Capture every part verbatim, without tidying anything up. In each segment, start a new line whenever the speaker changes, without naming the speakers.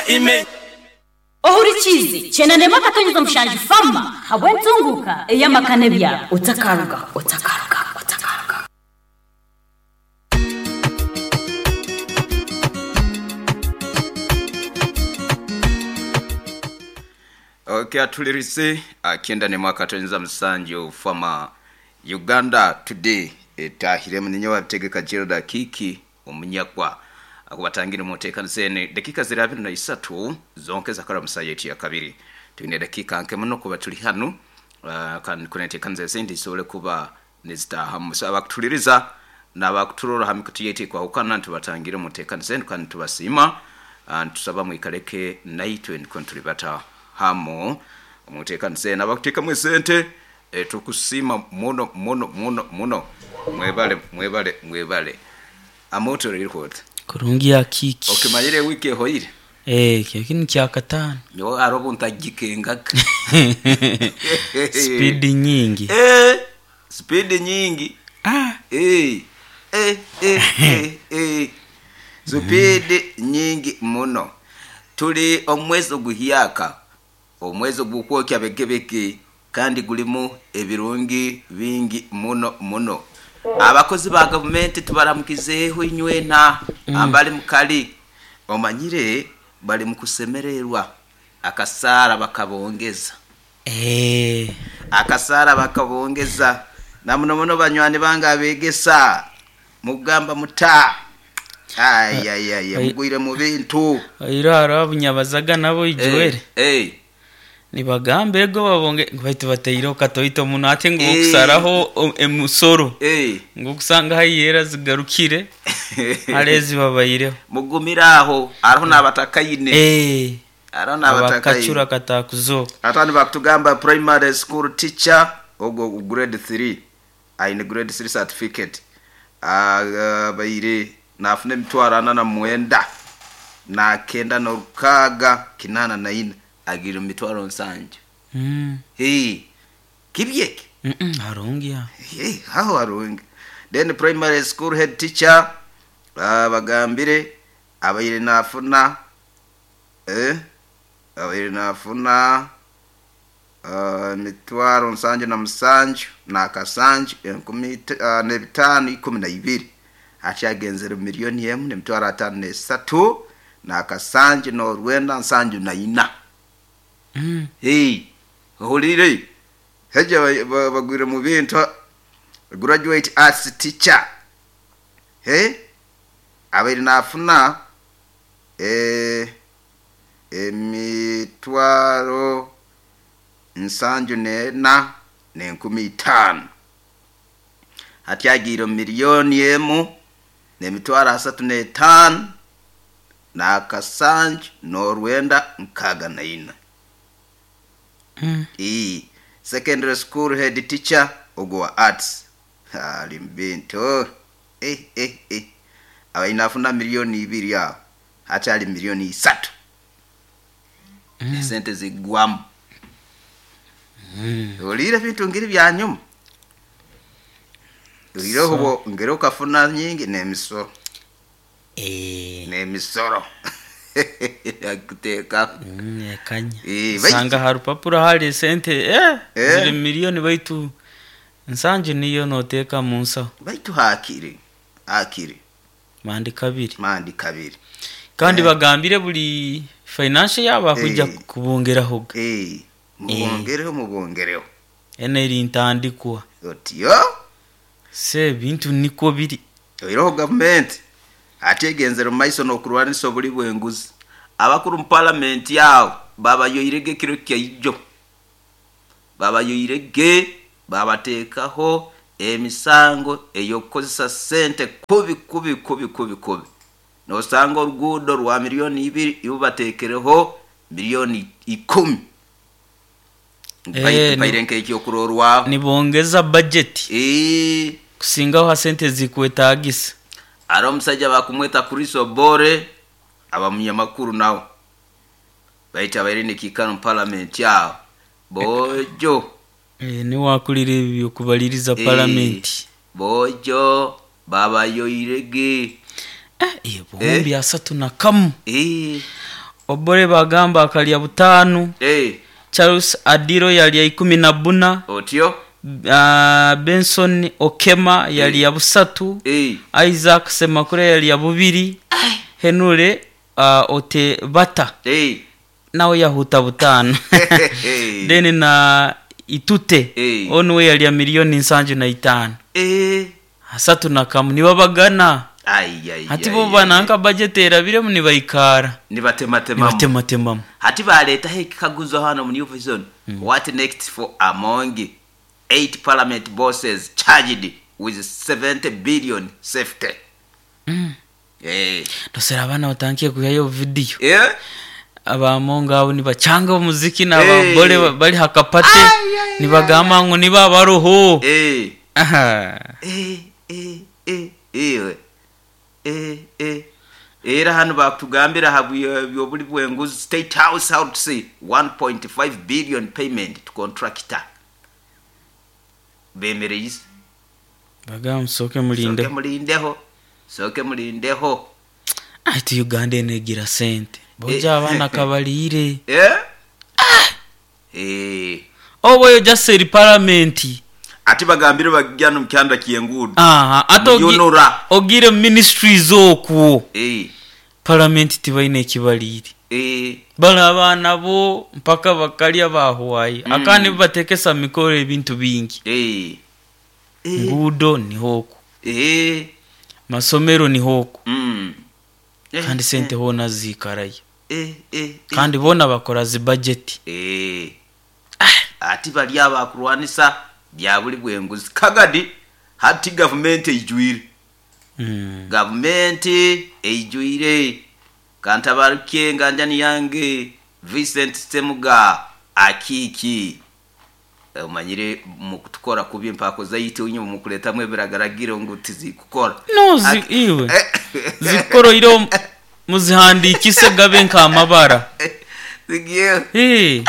Ime
Ohurikizi chenane makatonyeza mushanju fama habwentunguka eyamakane bya otakaruga otakaruga otakaruga.
Okay, atulirise akenda ne mwakatonyeza musanju fama Uganda Today etahire munyo wabitegeka Gerald Kiki omunyakwa akubatangire mutekano sene dakika ziri abiri na isatu zonke zakara musayeti ya kabiri tuine dakika nke muno kuba tuli hano uh, kan kunetekanze sente sole kuba nezitaha musaba kutuliriza nabakuturora hamikutiyete kwa ukana tubatangire mutekano sene kan tubasima uh, tusaba mwikaleke naitwe nkontulibata hamo mutekano sene abakuteka mwesente e, tukusima muno muno muno muno mwebale mwebale mwebale amoto riri
kurungi ya kiki
okimanyire wiki ehoire
eh kyo kya katano
nyo arobo ntagikengaga
speed nyingi
eh speed nyingi
ah
eh eh eh eh, eh. Speed nyingi muno tuli omwezi oguhyaka omwezi ogukwokya begebeke kandi gulimu ebirungi bingi muno muno abakozi ba gavumenti tubaramukizeeho inywena mm. abali mukali omanyire bali mukusemererwa akasara bakabongeza
eh
akasara bakabongeza na muno muno banywani bange abegesa mugamba muta ay ay ay mugwire mu bintu
iraro abunyabazaga nabo ijuwere
eh, eh.
Nibagambe ego babonge baitu bateiro katoito muno ate ngo kusaraho emusoro
eh
ngo kusanga hayera zigarukire alezi babayireho
mugumiraho ariho nabatakayine
eh
ariho nabatakayine
abakachura katakuzoka
atani bakutugamba primary school teacher ogo grade three aine grade three certificate uh, bayire nafune mitwaro na mwenda na kenda no rukaga kinana na ina agira mitwaro nsanju
mm
hey kibyeke
mm -mm, harungi ya
hey aho harungi then primary school head teacher uh, bagambire abayire nafuna eh abayire nafuna uh, mitwaro nsanju na musanju na kasanju enkumi uh, nebitano ikumi na ibiri achagenzera miliyoni emu nemitwaro atano nesatu na kasanju no rwenda nsanju na ina
mm
hey hulire heje bagwire mu bintu graduate arts teacher hey abiri nafuna eh emitwaro nsanju nena nenkumi itano hatyagira miliyoni emu nemitwaro asatu netano na kasanju norwenda nkaga na ina
mm
E secondary school head teacher ogwa arts ali mbinto eh eh eh abainafuna milioni ibiri aho hatali milioni isatu mm. sente zigwamu
mm.
olire bintu ngiri bya nyuma ulire
So-
hubo ngere ukafuna nyingi nemisoro
eh
nemisoro yakuteka
mm ekanya
Eh, baitu-
sanga harupapuro hari sente eh,
Eh.
ziri miliyoni baitu nsanju niyo noteka munsa
baitu hakiri hakiri
mandi kabiri
mandi kabiri
kandi bagambire buli financial yaba kujya
Eh.
kubongeraho
eh mubongereho mubongereho
eneri ntandikwa
otiyo
se bintu niko biri
oiroho gavumenti ategenzera mu maiso n'okurwanisa obuli bw'enguzi abakuru mu palamenti awo babayoirege ekiro kyaijo babayoirege babateekaho emisango ey'okukozesa sente kubi kubi kubi kubi kubi nosanga oruguudo rwa miliyoni ibiri ibo bateekereho miliyoni ikumi
Eh,
mpaire
ni-
nk'ekyokurorwaho
nibongeza budget
Eh,
kusingaho ha sente zikwetagisa
ari omusajja bakumweta Chris Obore aba munyamakuru nawe baita abaire nekiikano mu parliament awo bojo
eh, niwakulira ebyo kubaliriza
Eh,
parliament
bojo babayoirege
eh, eh, buhumbi asatu na kamu
Eh,
Obore bagamba akalya butano.
Eh.
Charles Adiro yalya ikumi na buna.
Otyo.
Uh, Benson Okema yalya busatu.
Eh.
Isaac Semakure yalya bubiri. Henure uh, Ote Bata.
Eh.
Nawe yahuta butano. Then na Itute.
Eh.
Onu yalya milioni nsanju na itano.
Eh.
Asatu na kamu nibabagana.
Ai ai.
Hati bo bananka budget erabiremu nibaikara.
Nibatematemamu.
Nibatematemamu.
Hati baletaho ekikaguzo hano mu New Vision. Mm. What next for Amongi? Eight parliament bosses charged with seventy billion safety.
Mm.
Eh.
Dosera abana batangiye kuyayo video.
Eh?
Abamonga abo nibacanga omuziki n'ababole hey. Bali hakapate nibagamba ngo niba baroho.
Eh.
Aha.
Eh eh eh eh. Eh eh. Era hano bakutugambira habwe bwenguzi State House how to say one point five billion payment to contractor. Bemereye
bagamba soke mulinde.
Soke mulindeho. Soke mulindeho.
Ati Uganda enegira sente. Boja abana kabalire.
Eh? Ah. Eh.
Obo yo just say parliament.
Ati bagambire bagya no mkyanda kiyengudu.
Aha, ato ogire ministries okwo.
Eh.
Parliament tibaine ekibalire.
Eh.
Bala abana bo mpaka bakalya bahuwayi.
Mm.
Akandi batekesa mikoro ebintu bingi.
Eh. Eh.
Ngudo ni hoku.
Eh.
Masomero ni hoku.
Mm.
Eh, kandi sente eh. Hona zikaraye.
Eh, eh, eh.
Kandi bona bakora zi budget.
Eh. Ah. Ati bali abakurwanisa bya buli bwenguzi kagadi hati government ejwire.
Mm.
Government ejwire. Kantabaruke nganjani yange Vincent Semuga akiki. Umanyire mukutukora kubi mpako zayite unyo mukuletamwe biragaragiro ngo tizikukora.
No zi, iwe. Zikoro iro muzihandikise gabe nka amabara.
Zigiye.
Eh.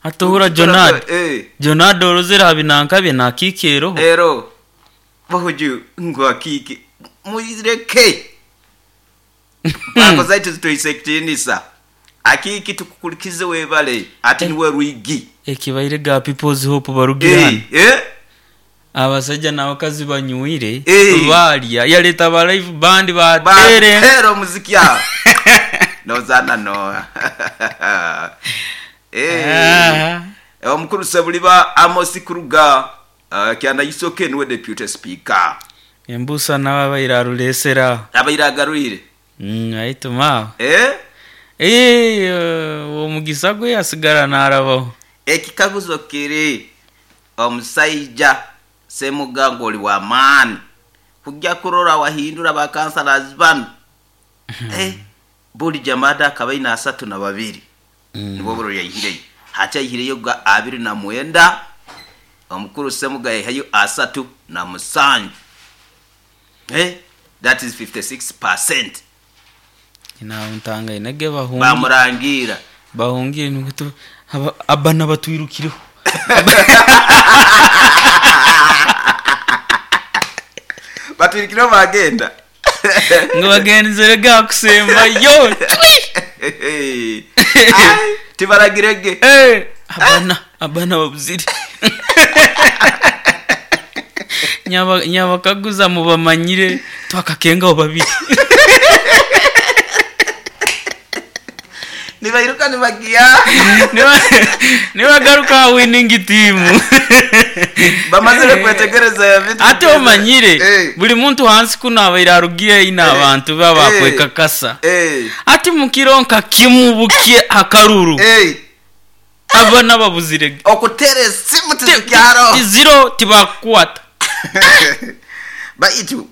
Atohura Jonad.
Eh.
Jonad orozera habinanka bye nakikero.
Ero. Bahuju ngo akiki. Muzireke. Mpako zayite zitoisektinisa. Akiki tukukulikize webale ati niwe ruigi.
Ekibaire ga People's Hope barugirana.
Eh, eh.
Abasajja n'abakazi banywire
eh.
Balya yaleta ba live band batere.
Batero muziki ya. Nozana no. Eh.
Ah.
Omukuru Sebuliba Amos Kuruga uh, kyanda yisoke niwe deputy speaker.
Embusa n'ababaira rulesera.
Abairagarwire.
Mm, aituma.
Eh?
Eh, omugisa gwe yasigara narabaho.
Ekikaguzo kiri omusaija Semuga oli wa maani kujja kurora wahindura ba councillors bano. Eh, buli jamada akabaina asatu na babiri.
Mm.
Nibo bro yayihireyo. Hacha yihireyo ga abiri na mwenda. Omukuru Semuga yahayo asatu na musanju. Eh, that is fifty-six percent.
Ina untanga inege bahungi.
Bamurangira.
Bahungire nukutu abana batwirukireho.
Batwirukireho bagenda.
Ngo bagenzere ga kusemba yo.
Ai, tibaragirege.
Eh, abana abana babuzire. Nyaba nyabakaguza mubamanyire twakakenga babiri.
Nibairuka nibagia.
Nibagaruka winning team.
Bamazire kwetegereza vitu.
Ate omanyire
eh.
Buli muntu hansi kuno abaira arugiye ina
eh.
Abantu baba kwekakasa.
Eh.
Ati mukironka kimubukie akaruru.
Eh.
Abana babuzire.
Okutere simu tizikyaro.
Zero tibakwata.
Baitu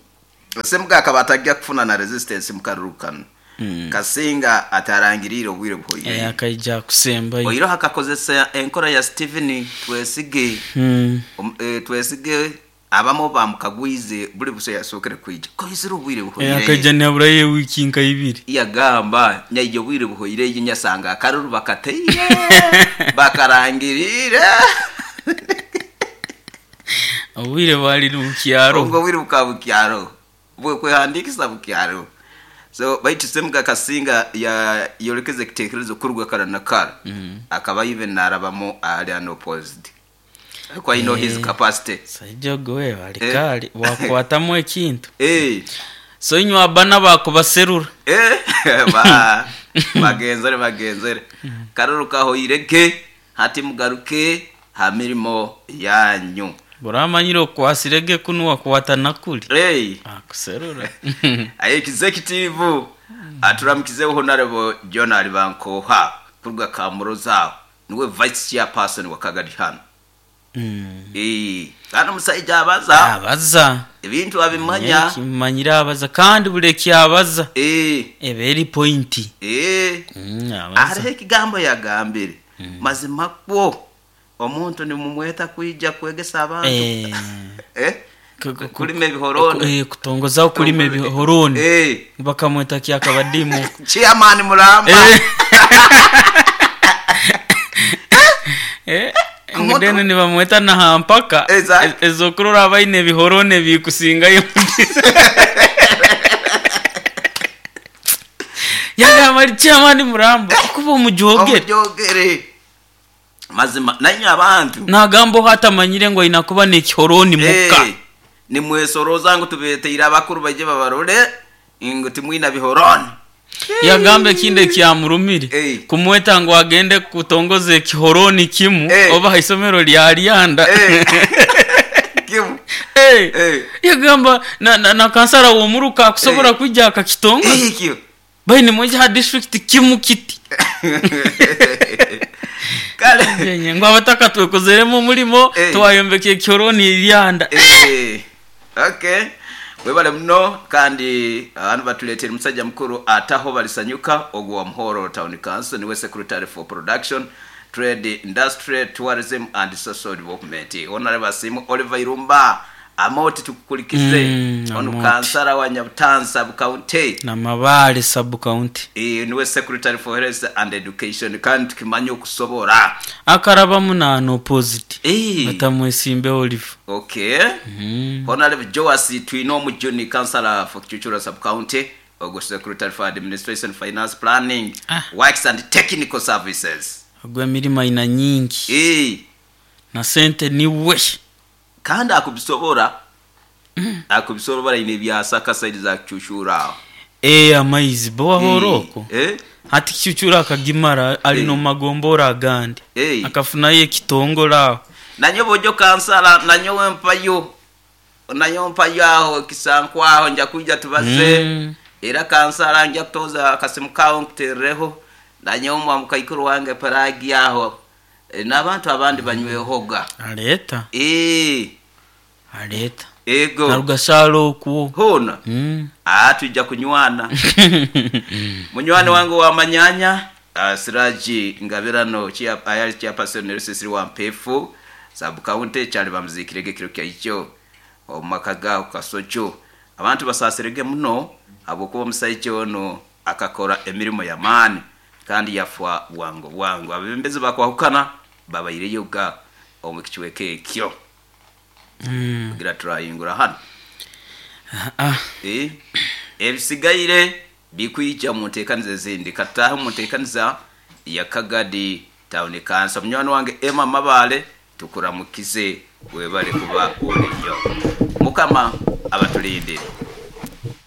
Semuga akabatagia kufuna na resistance mukarurukano.
Mm.
Kasinga atarangirira obwire buhoire.
Eh, akaija kusemba.
Oiro hakakozesa enkora ya Stephen Twesige.
Mm.
Um, eh, Twesige abamo bamukagwize buli buso yasokere kwija. Koizira obwire buhoire.
Eh, akaija naburaye wiki nka ibiri.
Yagamba nyaijo bwire buhoire yinyasanga akaruru bakateye. Bakarangirira.
Obwire bwali bukyaro.
Ubwo bwire bukabukyaro. Bwe kwehandikisa bukyaro. So baitu Semuga Kasinga ya yolekeze kitekerezo kuruga kara na kara. Akaba even narabamu ali unopposed. Kwa you know his capacity.
Saija gwe alikali wakwatamu ekintu.
Eh.
So inywa abana bakubaserura.
Eh, ba bagenzere bagenzere. Karuruka ho ireke hati mugaruke ha mirimo yanyu.
Buramanyire okwasirege kunuwa kwata nakuli.
Hey.
Akuserura.
Aye executive aturamukizeho Honorable John Alibankoha kuruga Kamuroza niwe vice chairperson wa Kagadi hano.
Mm.
Eh, kana musaija abaza
Abaza.
ebintu abimanya.
Kimanyira abaza kandi buli kyabaza.
Eh,
Eberi pointi.
eh.
Mm, abaza.
Hariho ekigambo yagambire. Mazima kwo omuntu nimumweta kwija kwegesa abantu.
Eh.
Eh?
Ku- ku-
Kulima ebihoroni.
Eh, kutongoza kulima ebihoroni.
Eh.
Bakamweta kyakabadimu.
Chairman Mulamba.
Eh. Eh. Ngudene nibamweta na hampaka
Exactly.
ezokurora abaine ebihorone bikusingayo. Yagamba ari chairman Mulamba kuba omujogere.
Omujogere. Mazima nanyi abantu.
Nagamba hatamanyire ngo inakuba n'ekihoroni muka.
Eh, nimwesoroza ngo tubeteire abakuru baje babarore ngo timwina bihoroni.
Yagambe kinde kyamurumire
Eh.
kumweta ngo agende kutongoza ekihoroni kimu
Eh.
oba isomero lya Lyanda.
Eh. Kimu.
Eh.
Eh.
Yagamba na, na, na kansara womuruka akusobola
Eh.
kwijja akakitongoza.
Eh, kyo.
Baine mweja ha district kimu kiti.
Kale.
Yenye ngo abataka twekozeremo omulimo
Eh.
twayombeka ekihoroni Lyanda.
Eh. Okay. Webale muno kandi abantu batuletera musajja mukuru ataho balisanyuka ogwo wa Muhoro Town Council niwe secretary for production trade industry tourism and social development. Honorable Asimu Oliver Irumba amoti tukukulikize
Mm,
ono
Amoti.
kansara wa Nyabutansa County.
Na Mabale sub county.
Eh, niwe secretary for health and education kandi tukimanya okusobora.
Akaraba munano opposite.
Eh.
Batamwesimbe Oliver.
Okay.
Mm.
Honorable Joas Twino Mujuni, Councillor for Chuchura Sub-County, Ogo Secretary for Administration, Finance, Planning,
Ah.
Works and Technical Services.
Agwa emirimo aina nyingi.
Eh,
Na sente niwe.
kandi akubisobora. Akubisobora ine byasaka side za Chuchura.
Eh amaizi bo wahoroko.
Eh?
Hati Chuchura akagimara ali
Eh.
no magombora agandi.
Eh.
Akafunayo ekitongola.
Nanyo bojo kansala nanyo wempayo. Nanyo mpayo aho kisankwaho nja kuja tubaze.
Mm.
Era kansala nja kutoza akasimu kawo nkutereho. Nanyo mwa mukaikuru wange paragi aho. E, n'abantu abandi banywehoga.
Aleta.
Eh,
Aleta.
ego.
Narugasalo okuwo.
Hona.
Mm.
Ah, tujja kunywana. Munywani wange wa manyanya, uh, Siraji Ngabirano chia ayali chairperson Sisiri wa Mpefu, sub county kyali bamuzikirege kiro kya ikyo. Omumaka gaho Kasocho. Abantu basasirege muno abokuba omusajja ono akakora emirimo y'amaani kandi yafwa bwangu bwangu. Abebembezi bakwahukana babaireyo ga omu kichweka ekyo.
Mm.
Kugira turayingura hano.
Ah.
Eh, ebisigaire bikwija mu nteekaniza ezindi kataahe mu nteekaniza ya Kagadi Town Council. Munywani wange Emma Mabale tukuramukize webale kuba oliyo. Mukama abatulindire.